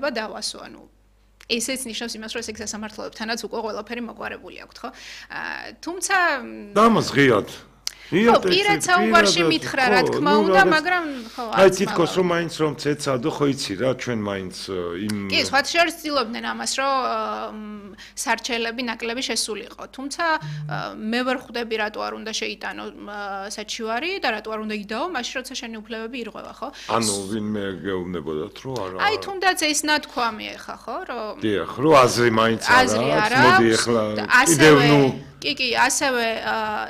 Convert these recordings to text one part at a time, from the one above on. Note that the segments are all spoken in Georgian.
შეიძლება დავასო, ანუ ესეც ნიშნავს იმას, რომ ეს სასამართლოებთანაც უკვე ყველაფერი მოგვარებული აქვთ, ხო? თუმცა დამას ღიად ხო, პირად საუბარში მითხრა, რა თქმა უნდა, მაგრამ ხო, აი თითქოს რომ მაინც რომ ცეცადო, ხო იცი რა, ჩვენ მაინც იმ კი, სხვა შორის ცდილობდნენ ამას, რომ სარჩელები ნაკლები შესულიყო. თუმცა მე ვერ ხვდები რატო არ უნდა შეიტანო საჩივარი და რატო არ უნდა იდაო, მაშინ როცა შენი უფლებები ირღვევა, ხო? ანუ ვინმე გეუბნებოდათ, რომ არა. აი თუნდაც ეს ნათქვამი ეხა, ხო, რომ დიახ, რომ აზრი მაინც არა, მოდი ეხლა კიდევ ნუ კი, ასევე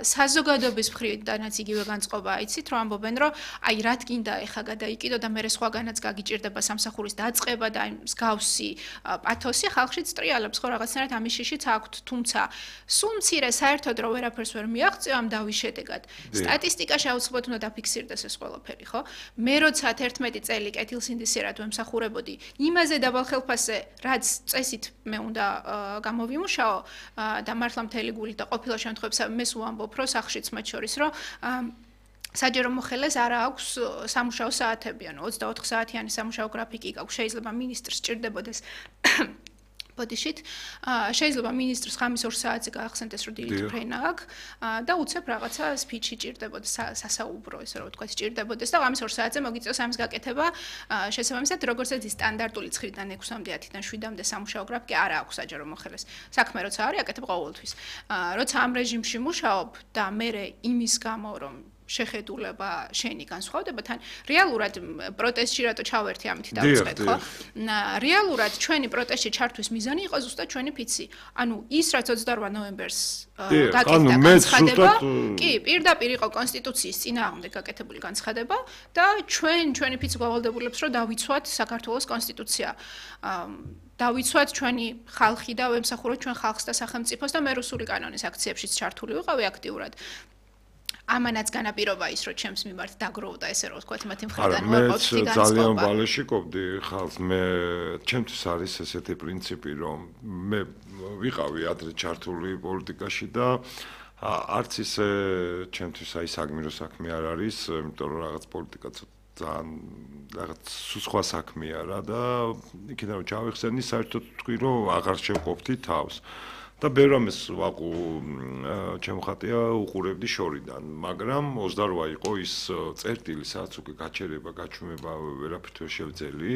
საზოგადოების მხრიდანაც იგივე განწყობა აიცით, რომ ამბობენ, რომ აი რა თქინდა ეხა გადაიკიდო და მე სხვაგანაც გაგიჭირდება სამსახურის დაწყება და აი მსგავსი პათოსი ხალხში წტრიალებს, ხო რაღაცნაირად ამის შიშიც აქვთ, თუმცა სულ მცირე საერთოდ რომ ვერაფერს ვერ მიაღწევ ამ დავის შედეგად. სტატისტიკაში აუცილებლად უნდა დაფიქსირდეს ეს ყველაფერი, ხო? მე როცა 11 წელი კეთილსინდისიერად ვემსახურებოდი, იმაზე დაბალ ხელფასზე, რაც წესით მე უნდა გამოვიმუშაო და მართლა მთელი გულით და ყოფილა შემთხვევებში მე სულ ამბობ, რომ სახშიც მათ შორის, რომ საჯარო მოხელეს არ აქვს სამუშაო საათები, ანუ 24 საათიანი სამუშაო გრაფიკი გაქვს, შეიძლება მინისტრს სჭირდებოდეს ბოდიშით, შეიძლება მინისტრს ხამის 2 საათზე გაახსენდეს, რომ დილით ფრენა აქვს და უცებ რაღაცა სპიჩი ჭირდებოდეს, სასაუბრო, ესე რომ ვთქვათ, ჭირდებოდეს და ხამის 2 საათზე მოგიწევს ამის გაკეთება, შესაბამისად, როგორც ეს სტანდარტული 9-დან 6-მდე, 10-დან 7-მდე სამუშაო გრაფიკი არ აქვს საჯარო მოხელეს. საქმე როცა არის, აკეთებ ყოველთვის. როცა ამ რეჟიმში მუშაობ და მე იმის გამო, რომ შეხედულება შენი განსხვავდება თან რეალურად პროტესტში რატო ჩავერთი ამით დავიწყეთ ხო რეალურად ჩვენი პროტესტში ჩართვის მიზანი იყო ზუსტად ჩვენი ფიცი ანუ ის რაც 28 ნოემბერს გაკეთდა განცხადება კი პირდაპირ იყო კონსტიტუციის წინააღმდეგ გაკეთებული განცხადება და ჩვენი ფიცი გავალდებულებს რომ დავიცვათ საქართველოს კონსტიტუცია დავიცვათ ჩვენი ხალხი და ვემსახუროთ ჩვენ ხალხს და სახელმწიფოს და მე რუსული კანონის აქციებშიც ჩართული ვიყავი აქტიურად ამანაც განაპირობა ის, რომ ჩემს მიმართ დაგროვდა ესე რომ ვთქვათ მათი მხრიდან უარყოფითი განწყობა. ძალიან ბალეშიკობდი ხალხს, მე ჩემთვის არის ესეთი პრინციპი, რომ მე ვიყავი ადრე ჩართული პოლიტიკაში და არც ისე ჩემთვის აი საგმირო საქმე არ არის, იმიტომ რომ რაღაც პოლიტიკა ძალიან რაღაც სხვა საქმეა რა და იქიდან რომ ჩავიხსენი, საერთოდ თქვი რომ აღარ შევყოფთი თავს. და ბევრ ამას ვაყუ ჩემ ხატია უყურებდი შორიდან, მაგრამ 28 იყო ის წერტილი, სადაც უკვე გაჩერება, გაჩვენება ვერაფრით ვერ შევძელი.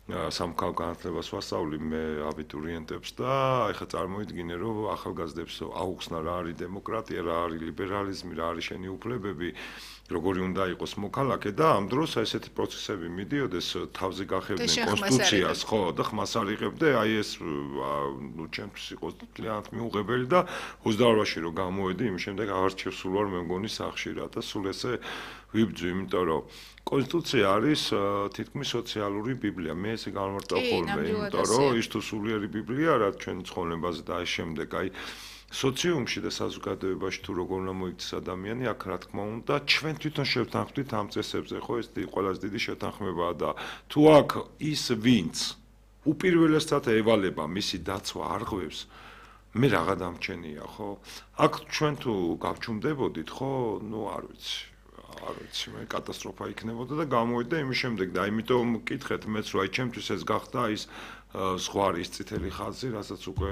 სამხალ განათლებას ვასწავლი მე აბიტურიენტებს და ეხლა წარმოიდგინე რომ ახალგაზრდებს აუხსნა რა არის დემოკრატია, რა არის ლიბერალიზმი, რა არის შენი უფლებები, როგორი უნდა იყოს მოქალაქე და ამ დროს ესეთი პროცესები მიდიოდეს თავზე გახევდნენ კონსტიტუციას, ხო, და ხმას არ იღებდე, აი ეს ნუ ჩემთვის იყო ძალიან მიუღებელი და 28-ში რომ გამოვედი, იმის შემდეგ აღარჩევ სულ ვარ მე მგონი სახში რა და სულ ესე ვიბძვი, იმიტომ რომ კონსტიტუცია არის თითქმის სოციალური ბიბლია. მე ესე განმარტავ ხოლმე, იმიტომ რომ ის თუ სულიერი ბიბლია რა ჩვენ ცხოვრებაზე და აი შემდეგ აი სოციუმში და საზოგადოებაში თუ როგორ უნდა მოიქცეს ადამიანი, აქ რა თქმა უნდა, ჩვენ თვითონ შევთანხმდით ამ წესებზე, ხო, ეს ყველაზე დიდი შეთანხმებაა და თუ აქ ის ვინც უპირველესად ევალება მისი დაცვა არღვევს, მე რაღა დამჩენია, ხო? აქ ჩვენ თუ გავჩუმდებოდით, ხო, ნუ არ ვიცი. არ ვიცი, მე კატასტროფა იქნებოდა და გამოვიდა იმის შემდეგ და იმიტომ მკითხეთ მეც რომ აი ჩემთვის ეს გახდა ის ზღვარის წითელი ხაზი, რასაც უკვე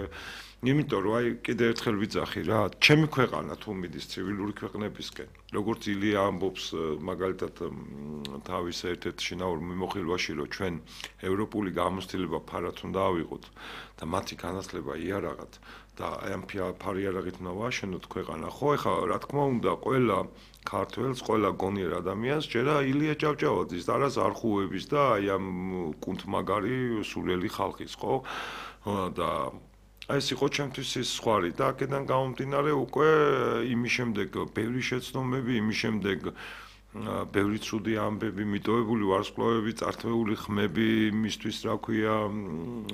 იმიტომ რომ აი კიდევ ერთხელ ვიძახი რა, ჩემი ქვეყანა თუ მიდის ცივილური ქვეყნებისკენ, როგორც ილია ამბობს მაგალითად თავის ერთ-ერთ შინაურ მიმოხილვაში, რომ ჩვენ ევროპული გამოცდილება ფარად უნდა ავიღოთ და მათი განათლება იარაღად და აი ამ ფარიარაღით უნდა ვაშენოთ ქვეყანა, ხო, ეხლა რა თქმა უნდა ყველა ქართველს, ყველა გონიერ ადამიანს ჯერა ილია ჭავჭავაძის და რა ზარხუების და აი ამ კუნთმაგარი სულელი ხალხის, ხო? და აი ეს იყო ჩემთვის ის ზღვარი და აქედან გამომდინარე უკვე იმის შემდეგ ბევრი შეცდომები, იმის შემდეგ ბევრი ცუდი ამბები, მიტოვებული ვარსკვლავები, წართვეული ხმები იმისთვის, რა ქვია,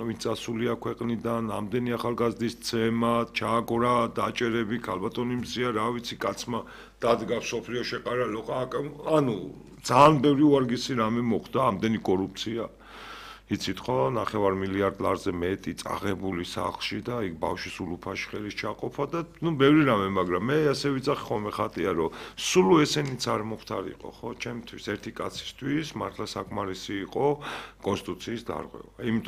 ვინც წასულია ქვეყნიდან, ამდენი ახალგაზრდის ცემა, ჩააგორა, დაჭერები, ქალბატონი მზია, რა ვიცი, კაცმა დადგა სოფლიო შეყარალო, ანუ ძალიან ბევრი უარგისი რამე მოხდა, ამდენი კორუფცია. იცით ხო, 9 მილიარდ ლარზე მეტი წაღებული სახლში და იქ ბავშვის ულუფაში ხელის ჩაყოფა და ნუ ბევრი რამე, მაგრამ მე ასე ვიძახი ხოლმე ხატია, რომ სულ ესენიც არ მოხდარიყო, ხო, ჩემთვის ერთი კაცისთვის მართლა საკმარისი იყო კონსტიტუციის დარღვევა.